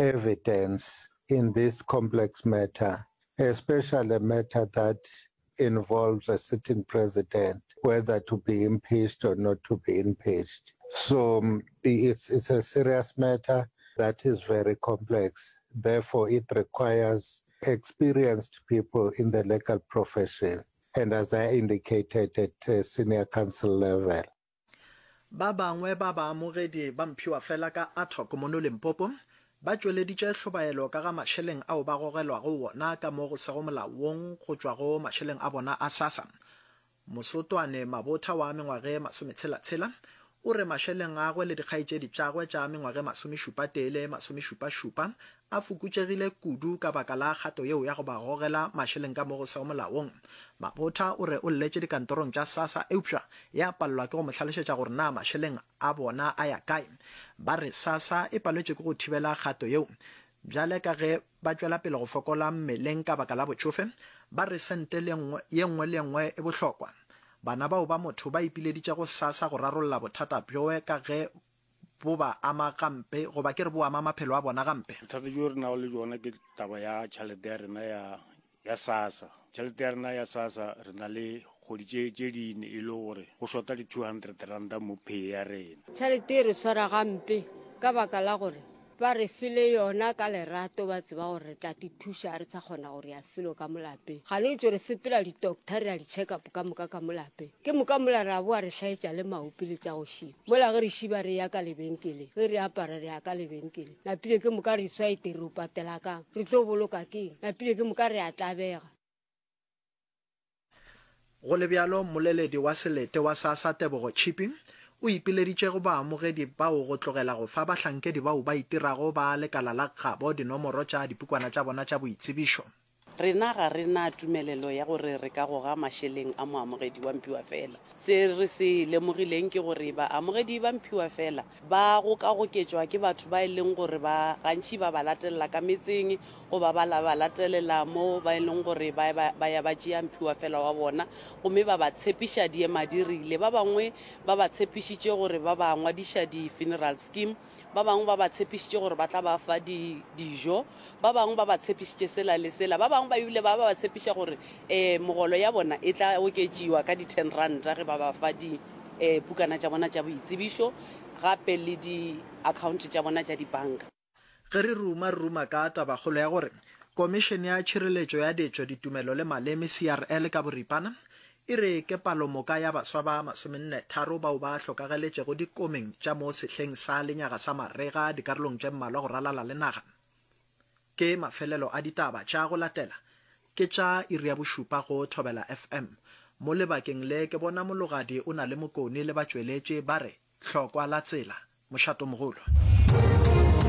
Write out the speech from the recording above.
evidence in this complex matter, especially a matter that involves a sitting president, whether to be impeached or not to be impeached. So um, it's, it's a serious matter that is very complex. Therefore, it requires experienced people in the legal profession and as I indicated at uh, senior counsel level. Ba bangwe ba baamogedi ba mphiwafela ka Atok mono Limpopo ba tšweleditše hlobaelo ka ga mašeleng ao ba gogelwago wona ka mo go sego molaong go tšwa go mašeleng a bona a SASSA. Mosotwane Mabotha wa mengwage masometshela-tshela o re mašeleng agwe le dikgaetšedi tšagwe tša mengwage masomešupa-tee le masomešupa-šupa a fokotšegile kudu ka baka la kgato yeo ya go ba gogela mašeleng ka mo go sego molaong. Mabotha o re o lletše dikantorong tša SASSA eupša ya palelwa ke go mo hlalošetša gore na mašeleng a bona a ya kae. Ba re SASSA e paletšwe ke go thibela kgato yeo. Bjale ka ge ba tšwela pele go fokola mmeleng ka baka la botšofe, ba re sente le ye nngwe le ye nngwe e bohlokwa. Bana bao ba motho ba ipileditše go SASSA go rarolla bothata bjoe ka ge bo ba ama gampe goba ke re bo ama maphelo a bona gampe. Bothata bjo re nago le bjona ke taba ya tšhelete ya rena ya ya SASSA. Tšhelete ya rena ya SASSA re na le kgwedi tše tše dine e le gore go shota di 200 ranta mo pay ya rena. Tšhelete e re swara gampe ka baka la gore ba re file yona ka lerato ba tseba gore re tla ti thuša re sa kgona gore ya selo ka mo lapeng. Gane ntše re sepela di-doctor re ya di-check up ka moka ka mo lapeng. Ke moka mola ra boa re hlaetša le maopi le tša go šiba. Mola ge re šiba re ya ka lebenkeleng, ge re apara re ya ka lebenkeleng. Napile ke moka re swa ete re o patela kang? Re tlo boloka keng? Napile ke moka re a tlabega. Go le bjalo, mmoleledi wa selete wa SASSA Tebogo Chipi o ipileditše go baamogedi bao go tlogela go fa bahlankedi bao ba itirago ba lekala la gabo dinomoro tša dipukwana tša bona tša boitsebišo. Rena ga re na tumelelo ya gore re ka goga mašeleng a moamogedi wa mphiwafela. Se re se lemogileng ke gore baamogedi ba mphiwafela ba gokagoketšwa ke batho ba e leng gore ba gantši ba ba latelela ka metseng goba ba ba latelela mo ba e leng gore ba, ba, ba ya ba tšea mphiwafela wa bona gomme ba ba tshepiša diemadirile. Ba bangwe ba ba tshepišitše gore ba ba ngwadiša di-funeral scheme Ba bangwe ba ba tshepišitše gore ba tla ba fa di, dijo. Ba bangwe ba ba tshepišitše sela le sela. Ba bangwe ba ebile ba ba tshepiša gore um megolo ya bona e tla oketšiwa ka di-ten ranta ge ba ba fa di um pukana tša bona tša boitsebišo gape le di-account tša bona tša dibanka. Ge re ruma, re ruma ka tabakgolo ya gore Komišene ya Tšhireletšo ya Ditšo, Ditumelo le Maleme, CRL, ka boripana, E re ke palomoka ya baswa ba masomenne-tharo bao ba hlokageletšego dikomeng tša mo sehleng sa lenyaga sa marega dikarolong tše mmalwa go ralala le naga. Ke mafelelo a ditaba tša go latela ke tša iri ya bošupa go Thobela FM. Mo lebakeng le ke bona Mologadi o na le Mokone le batšweletši ba re hlokwa la tsela. Mošatomogolo.